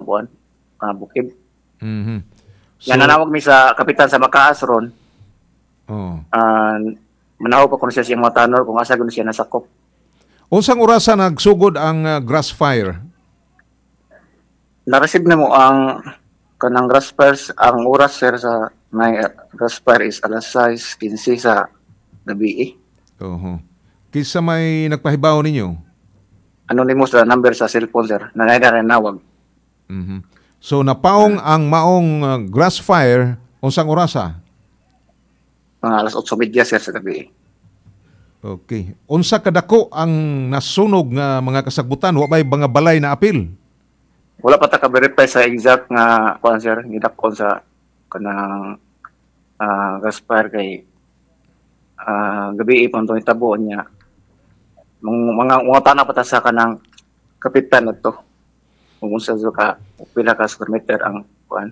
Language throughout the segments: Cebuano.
kuan, bukid. So, So, nanawag mi sa kapitan sa Makaas ron. Manaw pa kuno siya siyang mga tanor kung asa kuno siya nasakop. Unsang orasa nagsugod ang grass fire? Na-receive na mo ang kanang grass fires, ang oras, sir, sa may grass fire is alas 6:15 sa gabi eh. Oho. Kinsa may nagpahibaw ninyo? Anonymous sa number sa cellphone, sir. Na nawag. So napaong ang maong grass fire unsang orasa? Mga alas 8:30, sir, sa gabi. Okay. Unsa kadako ang nasunog nga mga kasagbutan? Wa bay mga balay na apil? Wala pa ta ka-verify sa exact nga kuan, sir, gidakon sa kanang grass fire kay gabi pa to hitabo niya. Mga tana pa ta sa kanang kapitan na to. Kung unsa so ka pila ka square meter ang kuan.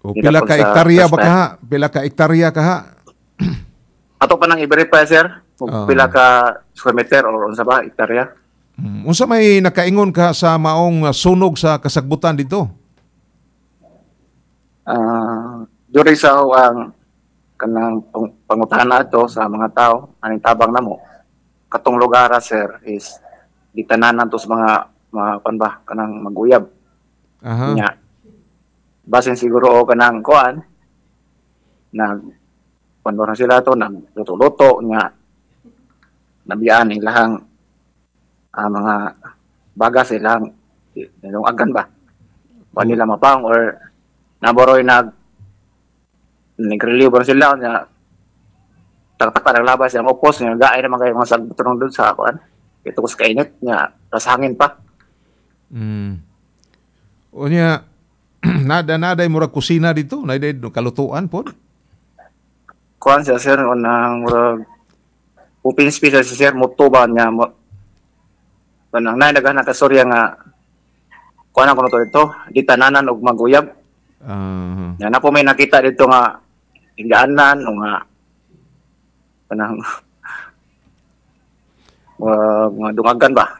O pila Gidakon ka sa hektarya ba grass fire. kaha? Pila ka hektarya kaha? Ato pa nang i-verify, sir, kung pila ka square meter or unsa ba hektarya. Unsa may nakaingon ka sa maong sunog sa kasagbutan dito? During sa ang kanang pangutana ato sa mga tao aning tabang namo, katong lugar, sir, is gitananan to sa mga kuan ba, kanang maguyab nya basin siguro o kanang kuan, nag kuan ba na sila to, nagluto-luto nya nabiyaan ilahang mga baga silang yung agan ba kuan nila mapang or naboroy nagrelieve ba sila nya taktak naglabas yang opos nya gaay naman kayo mga sagbuton doon sa kuan ito ko sa kainit nya tas hangin pa. Unya nada naday murag kusina dito, naday kalutuan pod. Kuan siya, sir, unang murag open space siya, sir, muto ba niya mo kanang nay daghan na kastorya nga kuan ang kuno to dito di tananan og maguyab. Nya na po may nakita dito nga higaanan o nga kanang mga dungagan ba.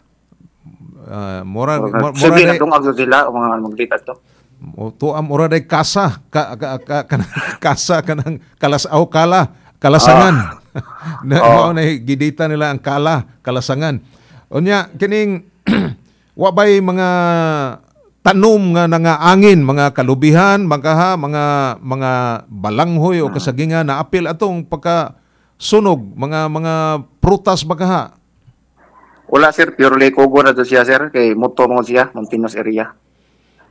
Mura mura Sige, day nagdungag sila o mga magdita to. O tuam mura day kasa ka, ka, ka, kanang kasa kanang kalasaw kala kalasangan. Na mao na gidita nila ang kala kalasangan. Unya kining wa bay mga tanom nga nangaangin, mga kalubihan, mga mga balanghoy o kasagingan na apil atong pagka sunog, mga prutas ba kaha? Wala, sir, purely kugo na to siya, sir, kay muto mo siya, mountainous area.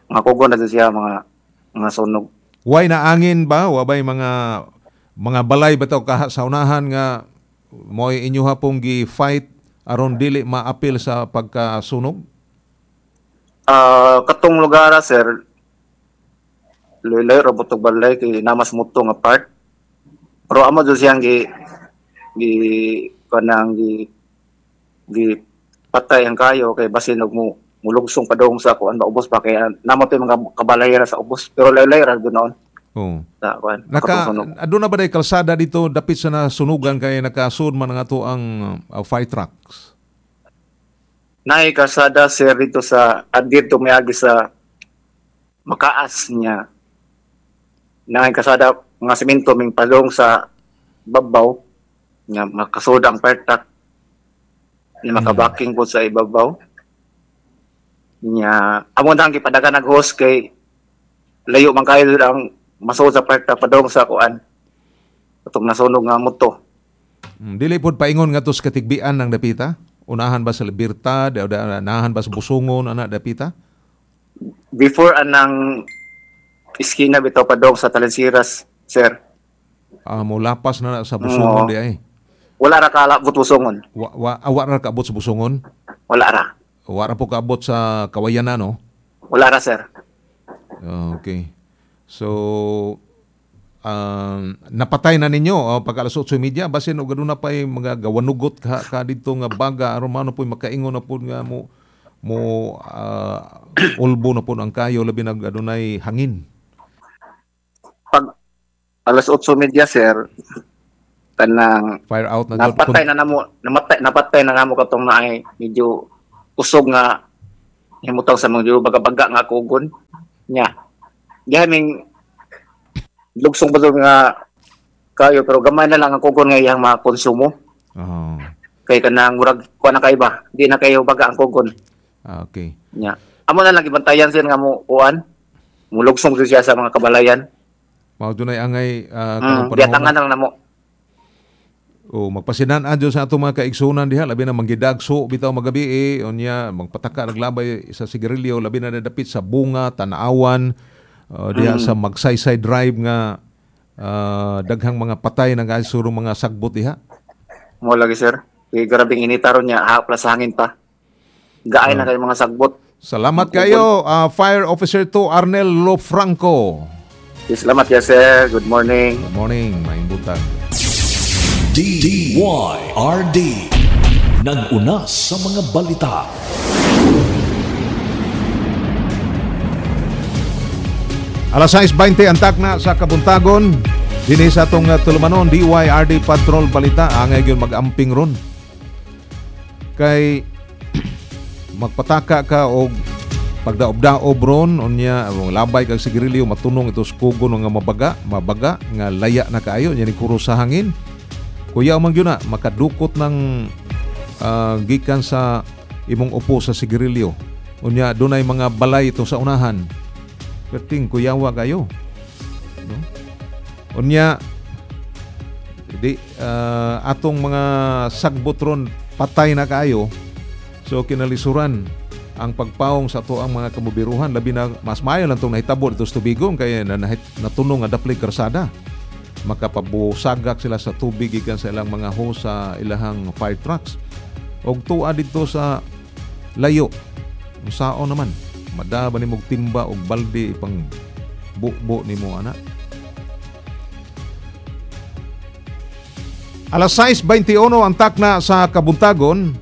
Mga kugo na to siya, mga sunog. Way na angin ba? Wa bay mga balay ba to kaha sa unahan nga mo'y inyo hapong gi-fight aron dili maapil sa pagkasunog? Katong lugar, sir, loy-loy ra butog balay kay namas muto nga part. Pero amo do siyang gi gi kanang gi gi patay ang kayo kay basin og mo mulugsong padung sa kuan ba ubos pa kay namo to yung mga kabalay ra sa ubos pero layo-layo ra doon noon sa kuan Naka katong sunog. Aduna ba day kalsada dito dapit sa nasunugan kay nakasud man nga to ang fire trucks? Naay kalsada, sir, dito sa at dito miagi sa Makaas niya. Naay kalsada nga semento ming padung sa babaw nga makasud ang fire truck niya, makabaking po sa ibabaw niya. Amo nang gipadagan nag hose kay layo man kayo ang masuod sa fire truck padung sa kuan atong nasunog nga moto. Dili pod paingon nga sa Katigbian ng dapita? Unahan ba sa Libertad, o unahan ba sa Busongon ana dapita? Before anang iskina bitaw padong sa Talensiras, sir. Ah, mo lapas na na sa Busongon Oo. di ay. Wala ra kalabot Busongon. Wa ra kaabot sa Busongon? Wala ra. Wa ra po kaabot sa Kawayanan, no? Wala ra, sir. Okay. So napatay na ninyo pag alas 8:30 basin og aduna pay mga gawanugot ka didto nga baga aron mano po'y makaingon na pod nga mo mo ulbo na pod ang kayo labi nag adunay hangin. Pag alas 8:30, sir, kanang Fire out na jud. Napatay na namo, namatay, napatay na namo katong naay medyo kusog nga himutang sa mga baga-baga nga kugon. Nya. Diha ming lugsong ba nga kayo, pero gamay na lang ang kugon nga iyang mga konsumo. Oh. Kay kanang murag kuan na kay ba, di na kayo baga ang kugon. Ah, okay. Nya. Amo na lang gibantayan sir nga mo kuan. Mulugsong jud siya sa mga kabalayan. Mao dunay angay kanang panahon. Biyatangan lang namo. O magpasinan adyo sa atong mga kaigsunan diha, labi na manggidagso bitaw magabi eh, unya magpataka naglabay sa sigarilyo, labi na nadapit sa Bunga, Tanaawan, diha sa Magsaysay Drive nga daghang mga patay na surong mga sagbot diha. Mo lagi sir. Kay grabing inita ron niya, hapla sa hangin pa. Gaay na kayo mga sagbot. Salamat kayo, Fire Officer 2 Arnel Lofranco. Salamat ya sir. Good morning. Good morning, maayong buntag. DYRD. Nag-una sa mga balita. Alas 6:20 ang takna sa Kabuntagon. Dinhi sa atong tulumanon, DYRD Patrol Balita. Angay gyud mag-amping ron. Kay magpataka ka og pagdaob-daob ron, unya labay kag sigarilyo, matunong ito sa kugon nga mabaga nga laya na kaayo nya ni kuro sa hangin. Kuya man gyud na makadukot ng gikan sa imong upo sa sigarilyo. Unya dunay mga balay ito sa unahan. Perting kuyawa kayo. No? Unya di atong mga sagbot ron patay na kaayo. So kinalisuran ang pagpaong sa ato ang mga kamubiruhan, labi na mas maayo lang tong nahitabo dito sa Tubigon kay natunong nga dapli karsada. Makapabusagak sila sa tubig gikan sa ilang mga hose sa ilahang fire trucks. Og tuwa dito sa layo, sao naman madaba nimo og timba og balde ipang bubo nimo ana. Alas 6:21 ang takna sa Kabuntagon.